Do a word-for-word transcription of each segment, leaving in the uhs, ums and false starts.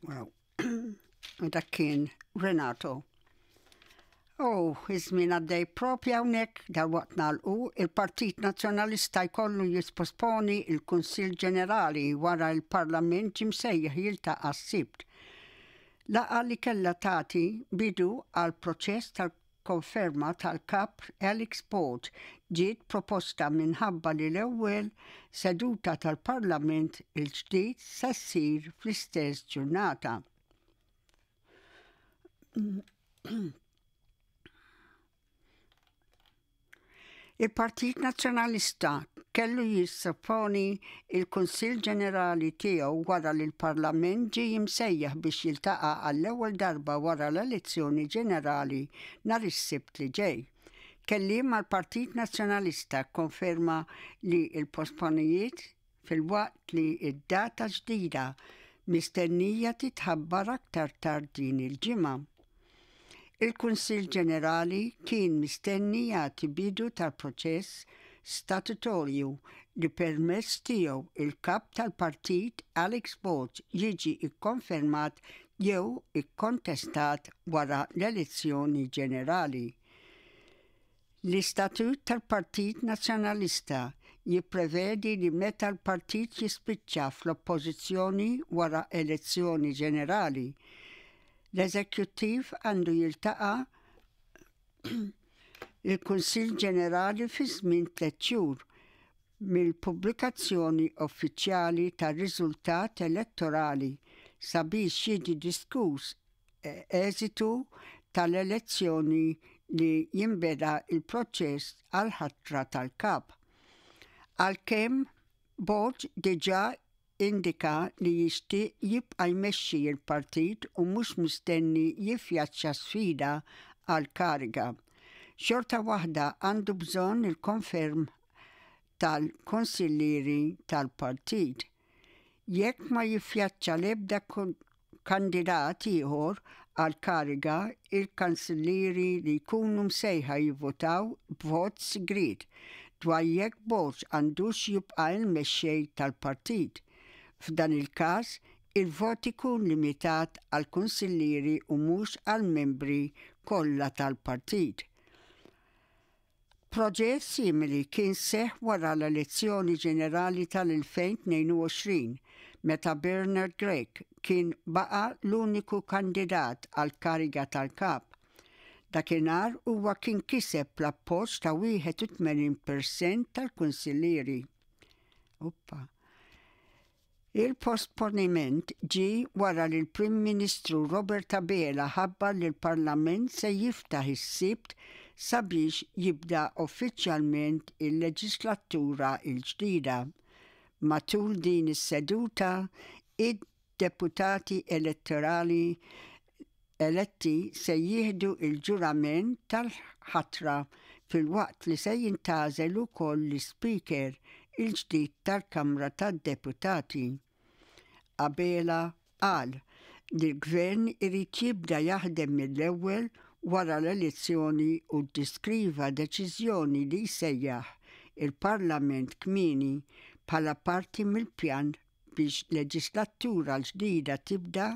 Wow. Dak kien Renato. Oh, iż-żmien għaddej propja hawnhekk. Dalwaqt nagħlqu. Il-Partit Nazzjonalista jkollu jisposponi il-Kunsill Ġenerali wara il-Parlament ġie msejjaħ jiltaqa' s-Sibt. Laqgħa li kellha tagħti bidu għal proċess tal-konferma tal-kap Alex Borg ġiet posposta minħabba li l-ewwel seduta tal-Parlament il-ġdid se ssir fl-istess ġurnata. Il-Partit Nazzjonalista kellu jisposponi il-Kunsill Ġenerali tiegħu wara li l-Parlament ġie msejjaħ biex jiltaqa' għall-ewwel darba wara l-elezzjoni ġenerali nhar is-Sibt li ġej. Kelliem mal-Partit Nazzjonalista konferma li l-posponiment filwaqt li id-data ġdida mistennija titħabbar aktar tard din il-ġimgħa. Il-Kunsill Ġenerali kien mistenni jagħti bidu tal-proċess statutorju li permezz tiegħu il-kap tal-partit Alex Borg jiġi ikkonfermat jew ikkontestat wara l-elezzjoni ġenerali. L-Istatut tal-Partit Nazzjonalista jipprevedi li meta l-partit jispiċċa fl-oppożizzjoni wara elezzjoni ġenerali, l-eżekjuttiv għandu jiltaqa' il-Kunsill Ġenerali fi żmien tliet xhur mill-pubblikazzjoni uffiċjali tar-riżultat elettorali sabiex jiġi diskuss eżitu tal-elezzjoni li jinbeda il-proċess għal-ħatra tal-kap. Għalkemm Borg diġà indika li jixtieq jibqa' jmexxi l-partit u mhux mistenni jiffaċċja sfida għal kariga, xorta waħda għandu bżonn il-konferm tal-konsillieri tal-partit. Jekk ma jiffaċċja l-ebda kandidat ieħor għal kariga, il-kansillieri li jkunu msejħa jivvotaw b'vot sigriet dwar jekk Borg għandux jibqa' il-mexxej tal-partit. F'dan il-każ, il-vot ikun limitat għal kunsillieri u mhux għal membri kollha tal-partit. Proġett simili kien seħ wara l-elezzjoni ġenerali tal-elfejn u tnejn u għoxrin meta Bernard Grech kien baqa l-uniku kandidat għal kariga tal-kap. Dakinhar huwa kien kiseb l-appoġġ ta' wieħed u tmenin per cent tal-kunsillieri. Uppa. Il-posponiment ġi wara li l-Prim Ministru Robert Abela ħabbar li l-Parlament se jiftaħ is-Sibt sabiex jibda uffiċjalment il-leġislatura il-ġdida. Matul din is-seduta, id-deputati elettorali eletti se jieħdu il-ġurament tal-ħatra filwaqt li se jintgħażel ukoll l-Speaker il-ġdid tal-Kamra tad-Deputati. Abela qal li l-gvern irid jibda jaħdem mill-ewwel wara l-elezzjoni u ddiskriva deċiżjoni li jsejjaħ il-Parlament kmieni bħala parti mill-pjan biex leġislatura l-ġdida tibda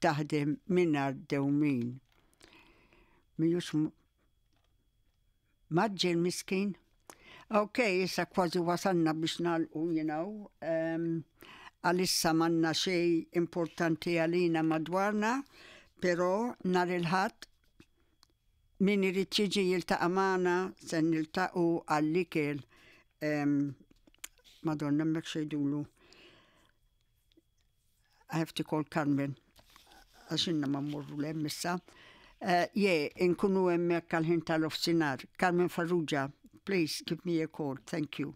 taħdem mingħajr dewmien. Mijux maġġel miskin. Ok, issa kważi wasalna biex nagħlqu, you know. Um, għalissa m'għandna xejn importanti għalina madwarna, pero nhar il-Ħadd min irid jiġi jiltaqa' magħna se niltaqgħu għall-ikel. Um, Madonna, hemmhekk xejdulu. I have to call Carmen. Għax ilna ma mmorru 'l hemm issa. Uh, yeah, nkunu hemmhekk għal-ħin tal-nofsinhar. Carmen Farrugia, please give me a call. Thank you.